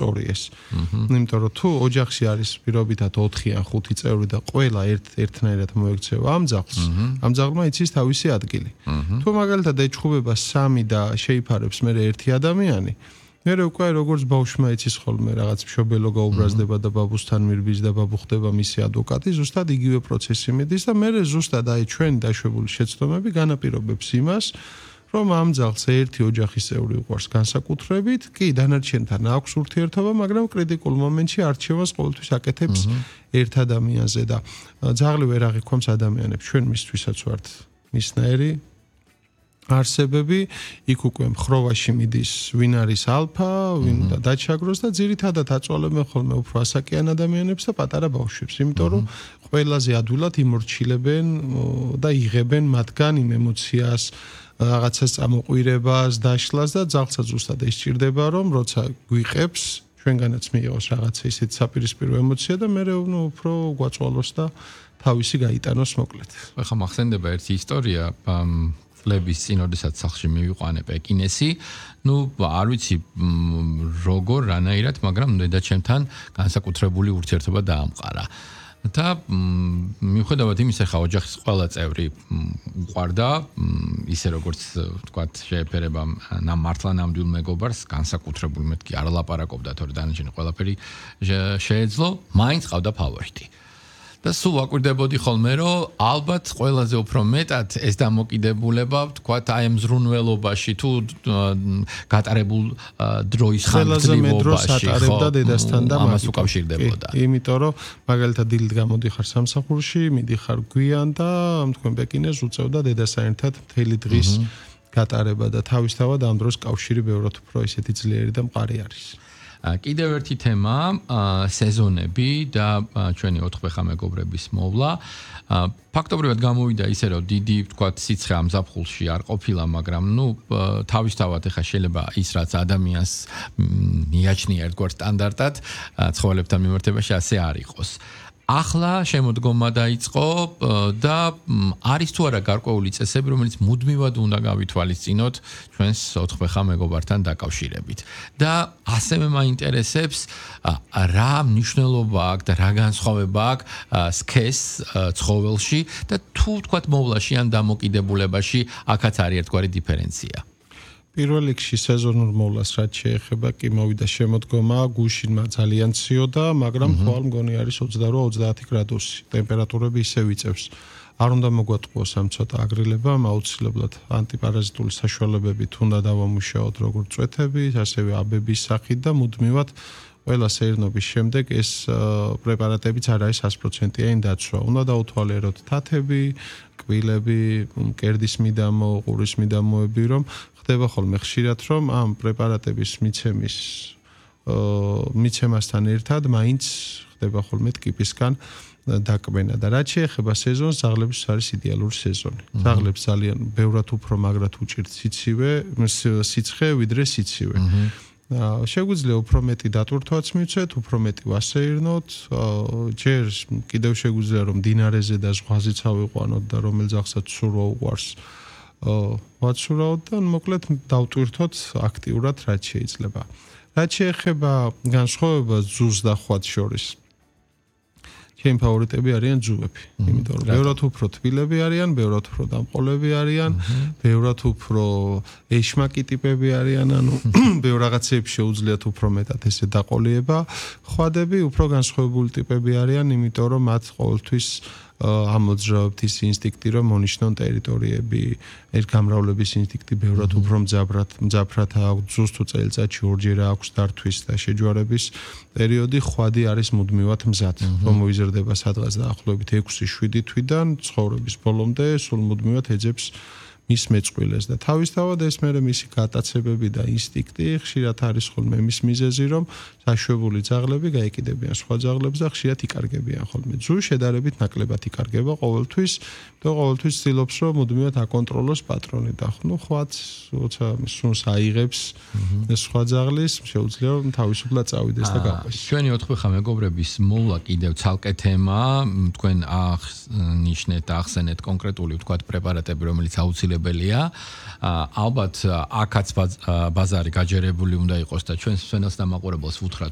ისტორიას. იმიტომ რომ თუ ოჯახში არის პირობითად 4 ან 5 წევრი და ყველა ერთნაირად მოექცევა ამ ძაღლმა იცის თავისი ადგილი. თუ მაგალითად ეჩხუბება 3 და შეიფარებს მე ერთი ადამიანი, მე უკვე როგორც ბავშვმა იცის ხოლმე რაღაც მშობელო გაუბრაზდება და ბაბუსთან მირბის და ბაბუ ხდება მისი ადვოკატი, ზუსტად იგივე პროცესი მიდის და მე ზუსტად აი ჩვენი დაშვებული შეცდომები განაპირობებს იმას, რომ ამ ძაღლს ერთი ოჯახის წევრი უყვარს განსაკუთრებით, კი დანარჩენთან აქვს ურთიერთობა, მაგრამ კრიტიკულ მომენტში არჩევას ყოველთვის აკეთებს ერთ ადამიანზე და ძაღლი ვერ აღიქვამს ადამიანებს, ჩვენ მისთვისაც ვართ მისნაირი არსებები, იქ უკვე ხროვაში მიდის ვინ არის ალფა, ვინ და დაჩაგროს და ძირითადად აწვალებენ ხოლმე უფრო ასაკიან ადამიანებს და პატარა ბავშვებს, იმიტომ რომ ყველაზე ადვილად იმორჩილებენ და იღებენ მათგან იმ ემოციას, რაღაცას წამოყვირებას, დაშლას და ძაღლსაც ზუსტად ეს სჭირდება, რომ როცა გვიყებს, ჩვენგანაც მიიღოს რაღაცა ისეთი საპირისპირო ემოცია და მე უფრო გვაწვალოს და თავისი გაიტანოს მოკლედ. ახლა მახსენდება ერთი ისტორია, წლების წინ, როდესაც სახლში მივიყვანე პეკინესი, არ ვიცი როგორ, რანაირად, მაგრამ დედაჩემთან განსაკუთრებული ურთიერთობა დაამყარა. და მიუხედავად იმისა, ხა ოჯახის ყველა წევრი უყვარდა, ისე როგორც ვთქვათ, შეეფერება მართლა ნამდვილ მეგობარს, განსაკუთრებული მეთქი არ ლაპარაკობდა, თორე დანარჩენი ყველაფერი შეეძლო, მაინც ყავდა ფავორიტი. და სულ ვაკვირდებოდი ხოლმე, რომ ალბათ ყველაზე უფრო მეტად ეს დამოკიდებულება, ვთქვათ, აი ამ ზრუნველობაში თუ გატარებულ დროის ხანგრძლივობაში ატარებდა დედასთან და ამას უკავშირდებოდა. იმიტომ რომ მაგალითად დილით გამოდიხარ სამსახურში, მიდიხარ გვიან და თქვენ პეკინეს უწევდა დედასთან ერთად მთელი დღის გატარება და თავისთავად ამ დროს კავშირი ბევრად უფრო ისეთი ძლიერი და მყარი არის. კიდევ ერთი თემა, სეზონები და ჩვენი 4 მეგობრების მოვლა. ფაქტობრივად გამოვიდა ისე, რომ დიდი, ვთქვათ, სიცხე ამ ზაფხულში არ ყოფილა, მაგრამ თავისთავად ეხა შეიძლება ის რაც ადამიანს მიაჩნია ერთგვარ სტანდარტად, ცხოველებთან მიმართებაში ასე არ იყოს. ახლა შემოდგომა დაიწყო და არის თუ არა გარკვეული წესები, რომელიც მუდმივად უნდა გავითვალისწინოთ ჩვენს 4 მეგობართან დაკავშირებით. და ასევე მაინტერესებს რა მნიშვნელობა აქვს და რა განსხვავება აქვს სქეს ცხოველში და თუ თქვათ მოვლაში ან დამოკიდებულებაში აქაც არის ერთგვარი დიფერენცია. პირველ რიგში სეზონურ მოვლას რაც შეეხება, კი მოვიდა შემოდგომა, გუშინმა ძალიან ციოდა, მაგრამ ხვალ მგონი არის 28-30 გრადუსი. ტემპერატურები ისე ვიწევს. არ უნდა მოგვატყუოს ამ ცოტა აგრილებამ, აუცილებლად ანტიპარაზიტული საშუალებებით უნდა დავამუშაოთ როგორც წვეთები, ასევე აბების სახით და მუდმივად ყველა სეირნობის შემდეგ ეს პრეპარატებიც არ არის 100%-იანი დაცვა. უნდა დაუთვალიეროთ თათები, კბილები, მკერდის მიდამო, ყურის მიდამოები, რომ ხდება ხოლმე ხშირად, რომ ამ პრეპარატების მიცემასთან ერთად მაინც ხდება ხოლმე ტკიპისგან დაკბენა და რაც შეეხება სეზონს, ძაღლების არის იდეალური სეზონი. ძაღლებს ძალიან ბევრად უფრო მაგრად უჭირთ სიცხე, ვიდრე სიცივე. შეგვიძლია უფრო მეტი დატვირთვაც მივცეთ, უფრო მეტი ვასეირნოთ, ჯერ კიდევ შეგვიძლია რომ დინარეზე და ზღვაზე წავიყვანოთ და რომელ ძაღლსაც სურვა უყვარს ვაცურავთ და მოკლედ დავტვირთოთ აქტიურად რაც შეიძლება. რაც შეეხება განსხვავებას ძუს და ხვაც შორის, ჩემი ფავორიტები არიან ძუები, იმიტომ რომ ბევრად უფრო თბილები არიან, ბევრად უფრო დამყოლები არიან, ბევრად უფრო ეშმაკი ტიპები არიან, ანუ ბევრ რაღაცებში შეუძლიათ უფრო მეტად ესე დაყოლიება. ხვადები უფრო განსხვავებული ტიპები არიან, იმიტომ რომ მათ ყოველთვის ამოძრავებთ ის ინსტინქტი, რომ მონიშნონ ტერიტორიები, გამრავლების ინსტინქტი ბევრად უფრო მძაფრად აქვს, ძუს თუ წელიწადში ორჯერ აქვს დართვის და შეჯვარების პერიოდი, ხვადი არის მუდმივად მზად, რომ მოიზრდება სადღაც დაახლოებით 6-7 თვიდან, ცხოვრების ბოლომდე სულ მუდმივად ეძებს მის მეწყვილეს და თავისთავად ეს მერე მისი გატაცებები და ინსტინქტი ხშირად არის ხოლმე მის მიზეზი, რომ საშვებული ძაღლები გაეკიდებიან სხვა ძაღლებს და ხშირად იკარგებიან ხოლმე. ძუ შედარებით ნაკლებად იკარგება ყოველთვის და ყოველთვის ცდილობს, რომ მუდმივად აკონტროლოს პატრონი და ხვაც როცა სუნს აიღებს სხვა ძაღლის, შეუძლია რომ თავისუფლად წავიდეს და გაყვეს. ჩვენი 4 მეგობრების მოვლა კიდევ ცალკე თემა, თქვენ აღნიშნეთ, ახსენეთ კონკრეტული ვთქვათ პრეპარატები, რომელიც აუცილებლად პასუხისმგებელია. ალბათ აქაც ბაზარი გაჯერებული უნდა იყოს და ჩვენს მსმენელს და მაყურებელს ვუთხრათ